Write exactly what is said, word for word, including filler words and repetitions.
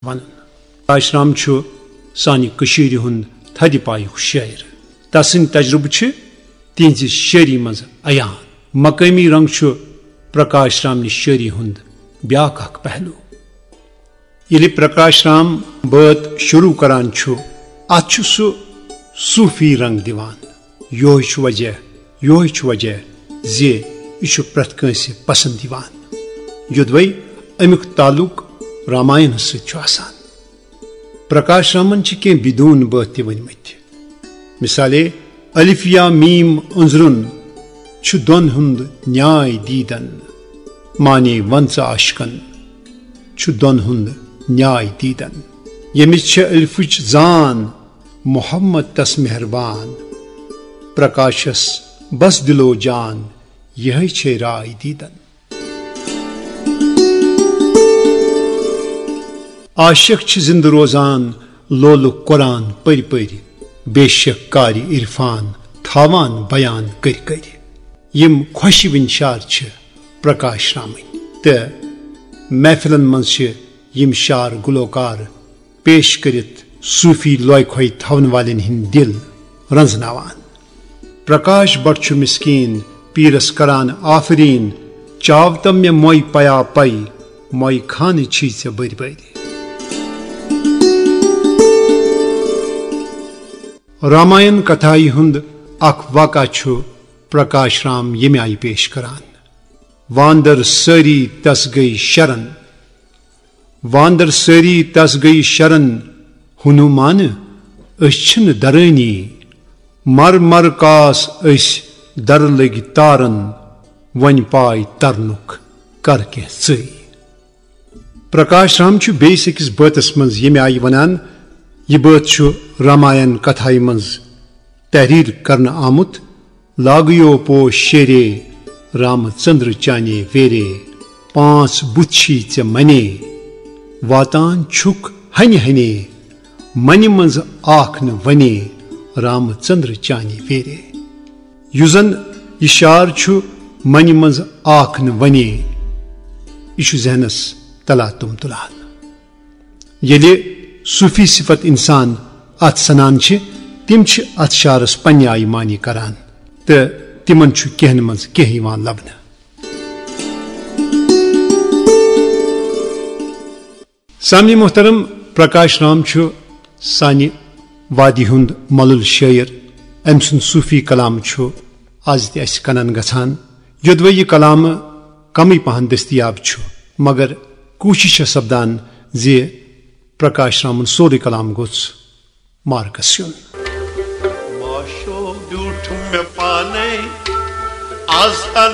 ونان۔ پرکاش رام چھُ سانہِ کٔشیٖرِ ہُنٛد تھدِ پایُک شٲعر۔ تسٕنٛدۍ تجربہٕ چھِ تِہنٛزِ شٲعری منٛز عیان۔ مقٲمی رنگ چھُ پرکاش رام نہِ شٲعری ہُنٛد بیاکھ اکھ پہلو۔ ییٚلہِ پرکاش رام بٲتھ شروع کران چھُ، اتھ چھُ سُہ صوفی رنگ دِوان۔ یوہے چھُ وجہ، یوہے چھُ وجہ زِ یہِ چھُ پرٛٮ۪تھ کٲنٛسہِ پسند یِوان، یوٚدوے امیُک تعلق راماینس سۭتۍ چھُ آسان۔ پرکاش رامن چھِ کینٛہہ بدون بٲتھ تہِ ؤنۍمٕتۍ۔ مثالے، الف یا میم أنٛزرُن چھُ دۄن ہُنٛد نیاے دیٖدن۔ معنی ون ژٕ عاشقن چھُ دۄن ہُنٛد نیاے دیٖدن۔ ییٚمِس چھِ الفٕچ زان، محمد تس مہربان۔ پرکاشس بس دِلو جان، یِہے چھے راے دیٖدن۔ عاشق چھِ زِندٕ روزان لولُک قرآن پٔرۍ پٔرۍ، بے شک قاری عرفان تھاوان بیان کٔرۍ کٔرۍ۔ یِم خۄشوٕنۍ شعر چھِ پرکاش رامٕنۍ، تہٕ محفلن منٛز چھِ یِم شعر گلوکار پیش کٔرِتھ صوفی لوے کھوے تھاون والٮ۪ن ہٕنٛدۍ دِل رنزناوان۔ پرکاش بٹ چھُ مسکین پیرس کران آفرین، چاو تم مےٚ موے پیا پے، موے خانہٕ چھی ژےٚ بٔرۍ بٔرۍ۔ راماین کتھایہِ ہُنٛد اکھ واقعہ چھُ پرکاش رام ییٚمہِ آیہِ پیش کران۔ واندر سٲری تس گٔے شرن، واندر سٲری تس گٔے شرن، ہنومان أسۍ چھِنہٕ درٲنی، مر مر کاس أسۍ در لٔگۍ تارن، وۄنۍ پاے ترنُک کر کینٛہہ ژٕے۔ پرکاش رام چھُ بیٚیِس أکِس بٲتس منٛز ییٚمہِ آیہِ ونان، یہِ بٲتھ چھُ راماین کتھایہِ منٛز تحریر کرنہٕ آمُت۔ لاگیو پوش شیرے رام چندر چانے ویرے، پانٛژھ بُتھ چھی ژےٚ منے، واتان چھُکھ ہنہِ ہنے، منہِ منٛز آکھ نہٕ ونے، رام چندر چانے ویرے۔ یُس زن یہِ شعر چھُ منہِ منٛز آکھ نہٕ ونے، یہِ چھُ ذہنس تلاتم تُلان۔ ییٚلہِ صوفی صفت انسان اتھ سنان چھِ، تِم چھِ اتھ شعرس پننہِ آیہِ معنی کران تہٕ تِمن چھُ کینٛہن منٛز کینٛہہ یِوان لبنہٕ۔ سامعین محترم، پرکاش رام چھُ سانہِ وادی ہُنٛد مۄلُل شٲعر۔ أمۍ سُنٛد صوفی کلام چھُ از تہِ اسہِ کنن گژھان۔ یوٚدوے یہِ کلام کمٕے پہن دٔستیاب چھُ، مگر کوٗشِش چھےٚ سپدان زِ پرکاش رامُن سورُے کلام گوٚژھ مارکس یُن۔ معشوق بیوٗٹھ مےٚ پانے آز۔